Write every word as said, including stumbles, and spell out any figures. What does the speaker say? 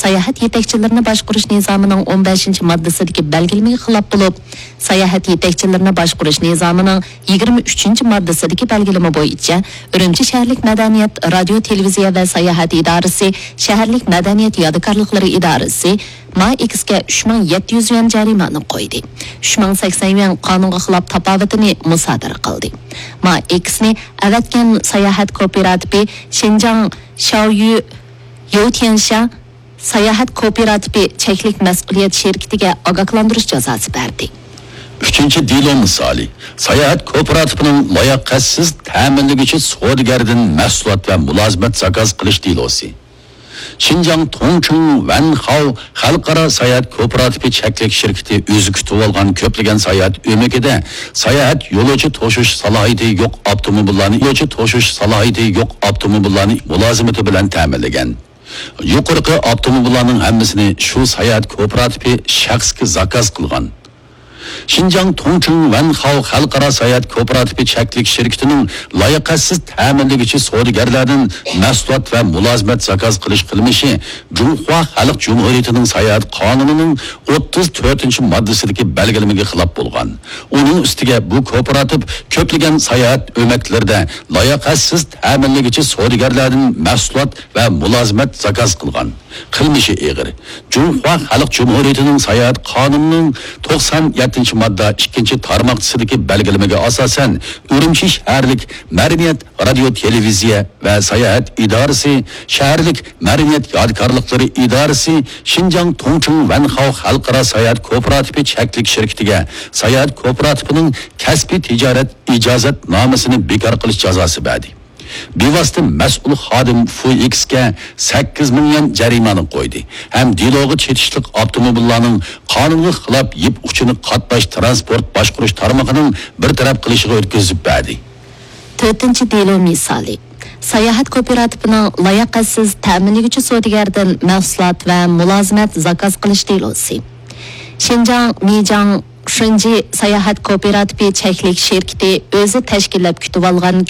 ساياھەت يېتەكچىلىرىنى باشقۇرۇش نىزامىنىڭ ئون بەشىنچى ماددىسىدىكى بەلگىلىمىگە خىلاپ بولۇپ، ساياھەت يېتەكچىلىرىنى باشقۇرۇش نىزامىنىڭ يىگىرمە ئۈچىنچى ماددىسىدىكى بەلگىلىمە بويىچە ئۈرۈمچى شەھەرلىك مەدەنىيەت، رادىيو، تېلېۋىزىيە ۋە ساياھەت ئىدارىسى، شەھەرلىك مەدەنىيەت يادىكارلىقلىرى ئىدارىسى ما ئېكسكە ئۈچ مىڭ يەتتە يۈز يۈەن جەرىمانە قويدى. ئۈچ مىڭ سەكسەن يۈەن قانۇنغا خىلاپ تاپاۋىتىنى مۇسادىرە قىلدى. ما ئېكسنى ئەۋەتكەن ساياھەت كوپىراتىپى شىنجاڭ شاۋيۈ يوتيەنشا ساياھەت كوپىراتىپى چەكلىك مەسئۇلىيەت شىركىتىگە ئاگاھلاندۇرۇش جازاسى بەردى. ئۈچىنچى دېلو مىسالى، ساياھەت كوپىراتىپىنىڭ لاياقەتسىز تەمىنلىگۈچى سودىگەردىن مەھسۇلات ۋە مۇلازىمەت زاكاز قىلىش دېلوسى. شىنجاڭ توڭچىڭ ۋەنخاۋ خەلقئارا ساياھەت كوپىراتىپى چەكلىك شىركىتى ئۆزى كۈتۈۋالغان كۆپلىگەن ساياھەت ئۆمىكىدە ساياھەت يولۇچى توشۇش سالاھىيىتى يوق ئاپتوموبىللارنى، يولۇچى توشۇش سالاھىيىتى يوق ئاپتوموبىللارنى مۇلازىمىتى بىلەن تەمىنلىگەن. يۇقىرىقى ئاپتوموبىللارنىڭ ھەممىسىنى شۇ ساياھەت كوپىراتىپى شەخسكە زاكاز قىلغان. شىنجاڭ توڭچىڭ ۋەنخاۋ خەلقئارا ساياھەت كوپىراتىپى چەكلىك شىركىتىنىڭ لاياقەتسىز تەمىنلىگۈچى سودىگەرلەردىن مەھسۇلات ۋە مۇلازىمەت زاكاز قىلىش قىلمىشى جۇڭخۇا خەلق جۇمھۇرىيىتىنىڭ ساياھەت قانۇنىنىڭ ئوتتۇز تۆتىنچى ماددىسىدىكى بەلگىلىمىگە خىلاپ بولغان. ئۇنىڭ ئۈستىگە بۇ كوپىراتىپ كۆپلىگەن ساياھەت ئۆمەكلىرىدە لاياقەتسىز تەمىنلىگۈچى سودىگەرلەردىن مەھسۇلات ۋە مۇلازىمەت زاكاز قىلغان. قىلمىشى ئېغىر. جۇڭخۇا خەلق جۇمھۇرىيىتىنىڭ ساياھەت قانۇنىنىڭ توقسان يەتتىنچى ماددا ئىككىنچى تارماقچىسىدىكى بەلگىلىمىگە ئاساسەن، ئۈرۈمچى شەھەرلىك مەدەنىيەت، رادىيو، تېلېۋىزىيە ۋە ساياھەت ئىدارىسى، شەھەرلىك مەدەنىيەت يادىكارلىقلىرى ئىدارىسى، شىنجاڭ توڭچىڭ ۋەنخاۋ خەلقئارا ساياھەت كوپىراتىپى چەكلىك شىركىتىگە ساياھەت كوپىراتىپىنىڭ كەسپىي تىجارەت ئىجازەتنامىسىنى بىكار قىلىش جازاسى بەردى. بىۋاسىتە مەسئۇل خادىم فۇ ئېكسكە سەككىز مىڭ يۈەن جەرىمانە قويدى ھەم دېلوغا چېتىشلىق ئاپتوموبىللارنىڭ قانۇنغا خىلاپ يىپ ئۇچىنى قاتناش تىرانسپورت باشقۇرۇش تارمىقىنىڭ بىر تەرەپ قىلىشىغا ئۆتكۈزۈپ بەردى. تۆتىنچى دېلو مىسالى. ساياھەت كوپىراتىپىنىڭ لاياقەتسىز تەمىنلىگۈچى سودىگەردىن مەھسۇلات ۋە مۇلازىمەت زاكاز قىلىش دېلوسى. شىنجاڭ مىجاڭ شېنجى ساياھەت كوپىراتىپى چەكلىك شىركىتى ئۆزى تەشكىللەپ كۈتۈۋالغان